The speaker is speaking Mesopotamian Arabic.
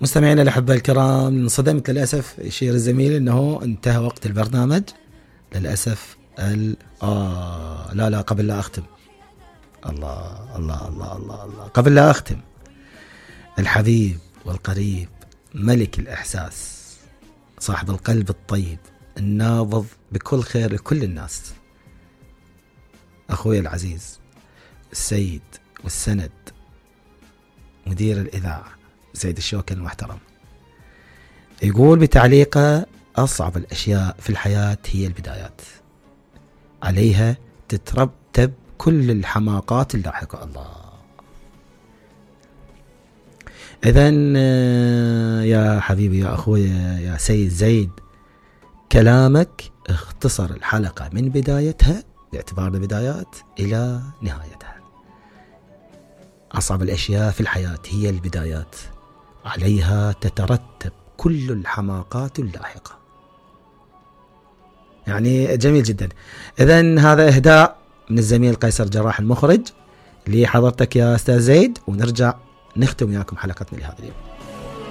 مستمعينا الأحبة الكرام، انصدمت للأسف يشير الزميل أنه انتهى وقت البرنامج للأسف. لا قبل لا أختم، الله قبل لا أختم، الحبيب والقريب، ملك الإحساس، صاحب القلب الطيب، النابض بكل خير لكل الناس، أخوي العزيز السيد والسند مدير الإذاعة سيد الشوكي المحترم، يقول بتعليقه: أصعب الأشياء في الحياة هي البدايات، عليها تترتب كل الحماقات اللاحقة. الله. إذن يا حبيبي يا أخوي يا سيد زيد، كلامك اختصر الحلقة من بدايتها باعتبار البدايات إلى نهايتها. أصعب الأشياء في الحياة هي البدايات، عليها تترتب كل الحماقات اللاحقة. يعني جميل جدا. إذن هذا إهداء من الزميل قيصر جراح المخرج لحضرتك يا أستاذ زيد، ونرجع نختم وياكم حلقتنا لهذا اليوم.